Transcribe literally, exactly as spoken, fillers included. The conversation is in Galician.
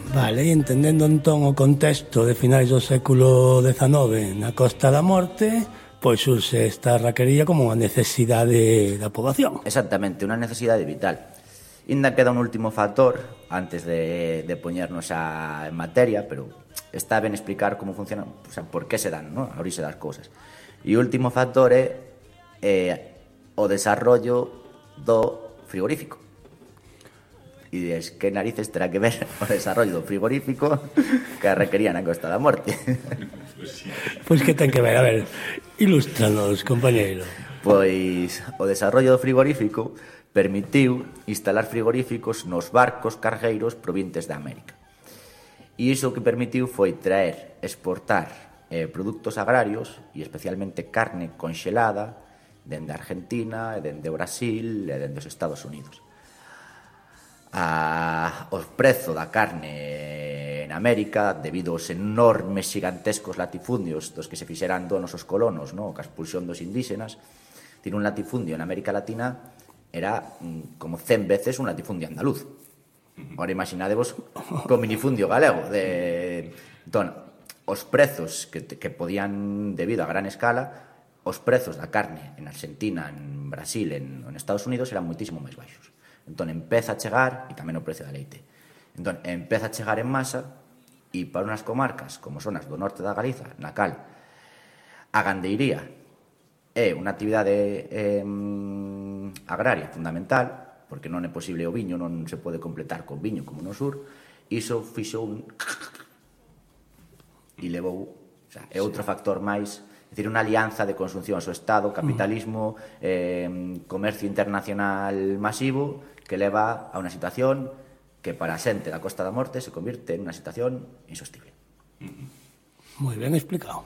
Vale, e entendendo entón o contexto de finais do século dezanove na Costa da Morte, pois surxe esta raquería como unha necesidade da poboación. Exactamente, unha necesidade vital. Ainda queda un último factor antes de, de poñernos a, en materia, pero está ben explicar como funciona, o sea, por que se dan, ¿no?, a orixe das cousas. E o último factor é eh, o desarrollo do frigorífico. E dices, que narices terá que ver o desarrollo do frigorífico que requería na Costa da Morte? Pois que ten que ver? A ver, ilústranos, compañeiro. Pois o desarrollo do frigorífico permitiu instalar frigoríficos nos barcos cargueiros provintes de América. E iso o que permitiu foi traer, exportar eh, produtos agrarios e especialmente carne conxelada dende Argentina, e dende Brasil e dende os Estados Unidos. A, o prezo da carne en América, debido aos enormes gigantescos latifundios dos que se fixeran donos os colonos, no?, ca expulsión dos indígenas, tiene un latifundio en América Latina era mm, como cen veces un latifundio andaluz. Ahora imaginadevos co minifundio galego. De... Entón, os prezos que, que podían, debido a gran escala, os prezos da carne en Argentina, en Brasil, en, en Estados Unidos eran moitísimo máis baixos. Entón, empeza a chegar, e tamén o precio da leite. Entón, empeza a chegar en masa, e para unhas comarcas, como son as do norte da Galiza, na cal a gandeiría é unha actividade eh, agraria fundamental, porque non é posible o viño, non se pode completar con viño como no sur, iso fixo un... e levou... O sea, é outro factor máis... É dicir, unha alianza de consunción ao Estado, capitalismo, eh, comercio internacional masivo, que leva a unha situación que para a xente da Costa da Morte se convirte en unha situación insostible. Moi ben explicado.